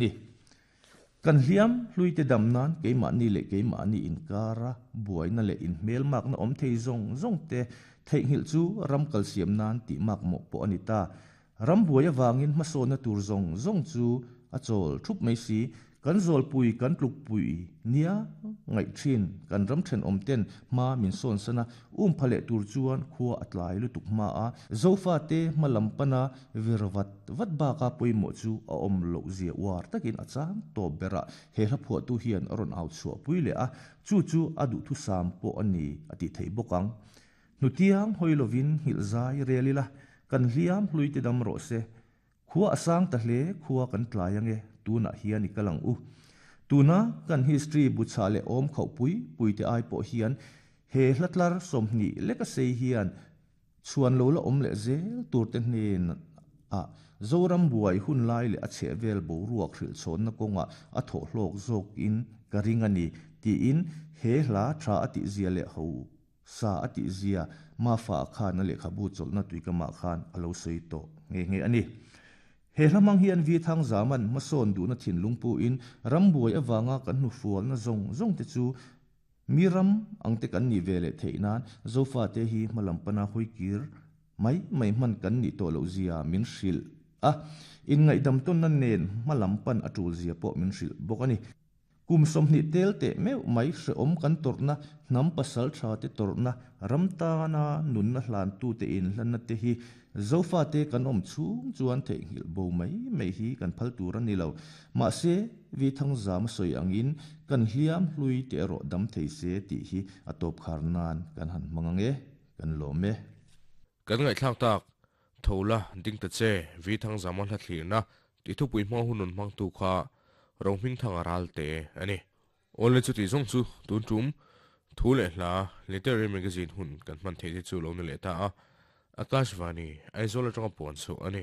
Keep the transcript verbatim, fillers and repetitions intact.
Ni. Kan hliam hluite dam nan keimahni leh keimahni inkara buaina leh inhmelmakna awm thei zawng zawng te theihnghilh chu ram kalsiam nan tih makmawh pawh a ni ta. Ram buai avangin hmasawnna tur zawng zawng chu a chawl thup mai si. Kan zawlpui kan tlukpui nia ngaih thin kan ram thenawm ten hma min sawn sana um pha leh tur chuan khua a tlai lutuk hma a. Zofate hma lam pana vir vat vat baka pawimawh chu a awm loh zia uar takin a chang tawp berah he hla phuahtu hian a rawn au chhuah pui leh a. Chu chu a duhthusam pawh a ni a tih theih bawk ang. Hnutiang hawi lovin nghilh zai rel ila kan hliam hluite dam rawh se. Khua a sang ta hle khua kan tlai ange tunah hian i kal ang u. Tuna kan history bu chhah leh awm khauh pui pui te ai pawh hian he hla tlar sawmhnih leka sei hian chhuan lo la awm leh zel tur te hnen a Zoram buai hun lai leh a chhehvel boruak hrilh chhawnna kawnga a thawh hlawk zawk in ka ring a ni tiin he hla tha a tih zia leh ho sa a tih zia Mafa khan a lehkhabu chawlhna tuikamah khan a lo sawi tawh nghe nghe a ni. He hla hmang hian Vi Thangzaman hmasawn duhna thinlung pu in ram buai awanga kan hnufualna zawng zawng te chu mi ram ang te kan ni ve leh theih nan Zofa te hi hma lam pana hawi kir mai mai hman kan nih tawh loh zia min hrilh a. Inngaihdam tawnna nen hma lam pan a tul zia pawh min hrilh bawk a ni. Kum sawmhnih tel teh meuh mai hrehawm kan tawrhna hnam pasal tha te tawrhna ram tana nunna hlantu te inhlanna te hi Zofa te kan awm chhung chuan theihnghilh bo mai mai hi kan phal tur a ni lo. Mahse Vi Thangzam a sawi angin kan hliam hlui te erawh dam thei se tih hi a tawp khar nan kan han hmang ang e, kan lawm e. Kan ngaihthlak tak tho la ding ta che Vi Thangzam a hla thlirna tih thupui hmang hun rawn hmangtu kha Rohmingthang a ral te a ni. Awle chuti zawng chu tun tum thu leh hla literary magazine hun kan hman theih te chu lo ni leh ta a, Akashvani, Aizawl atanga puan chhuah a ni.